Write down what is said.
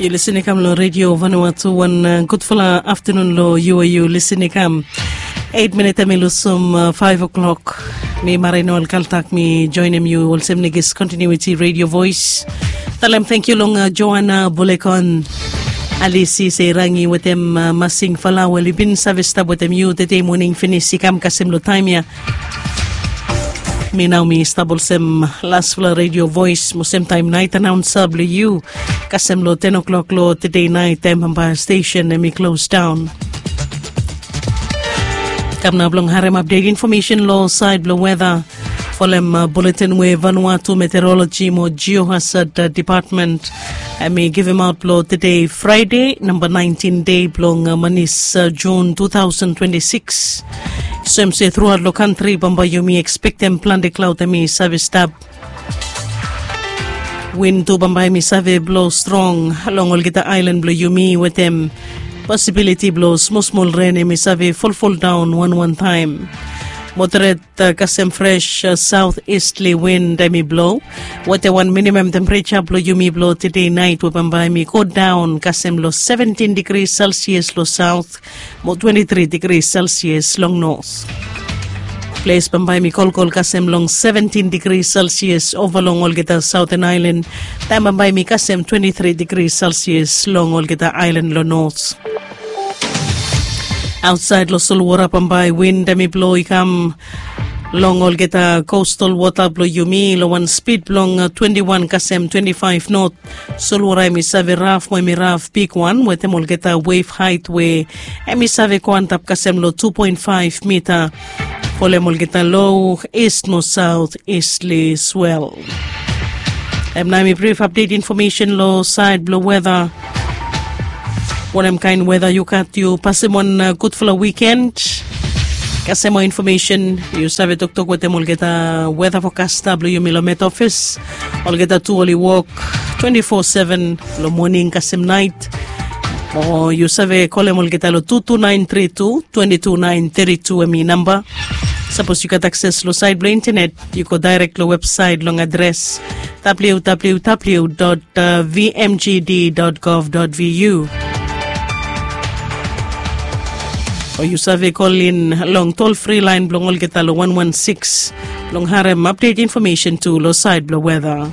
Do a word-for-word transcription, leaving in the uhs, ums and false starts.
Yu lisin i kam long redio Vanuatu. Wan uh, gudfala aftanun long yu we yu lisin i kam. Eit minit em i lusum uh, faiv o'klok. Mi Marino Alkaltak mi joinim yu olsem Negis Continuity Radio Voice. Talem thank you long uh, Joanna Bulekon, Alisi Seirangi wetem uh, Masing Fala we oli bin save stap wetem yu tede moning finis i kam kasem long taem ya. Mi nao mi stap olsem lasfala Radio Voice mo semtaem nait anaunsa blong yu kasem long ten o'klok long tede nait taem bambae stesen em i klos daon. Kam nao blong harem apdet infomesen long saed blong weta folem uh, buletin we Vanuatu Meteorologi mo Geohazard uh, Depatmen em i givimaot blong tede Fraede namba naentin dei blong uh, manis uh, Jun tu taosen twenti sikis. Soem se truaot long kantri bambae yumi ekspektem plante klaod em i save stap. Win tu bambae mi save blo strong long olgeta aelan blo yumi wetem posibiliti blo smosmol ren em i save folfoldaon wanwan taem. Moderet uh, kasem fres uh, saotistli win em i blo wetem wan minimam tempereja blo yumi blo tede nait we bambae mi godaon kasem lo seventin digri selsias lo saot mo twenti tri digri selsias long nos. Ples bambae mi kolkol kasem long seventin digri selsias ova long olgeta saoten aelan taem bambae mi kasem twenti tri digri selsias long olgeta aelan long nos. Aotsaed long solwora bambae win em i blo i kam long olgeta kostal wota blo yumi long wan spid blong twenti wan kasem twenti faef not. Solwora em i save raf mo em i raf bigwan wetem olgeta wef haet we em i save go antap kasem long tu poen faef mita folem olgeta lo ist mo saot istli swel. Em nao em i brif apdet infomesen long saed blong weta. Wanem kaen weta yu gat yu pasem wan uh, gudfala wiken. Kasem moa infomesen yu save toktok wetem olgeta weta fokasta blong yumi long met ofis. Olgeta tu oli wok twenti fo seven long moning kasem nait. O yu save kolem olgeta long tu tu naen tri tu twenti tu naen tri tu em i namba. Sapos yu gat akses long saed blong intenet yu go daerek long websaet long adres www vmgd.gov.vu. O yu save kolin long tol fri laen blong olgeta long wan wan sikis blong harem apdet infomesen tu long saed blong weta.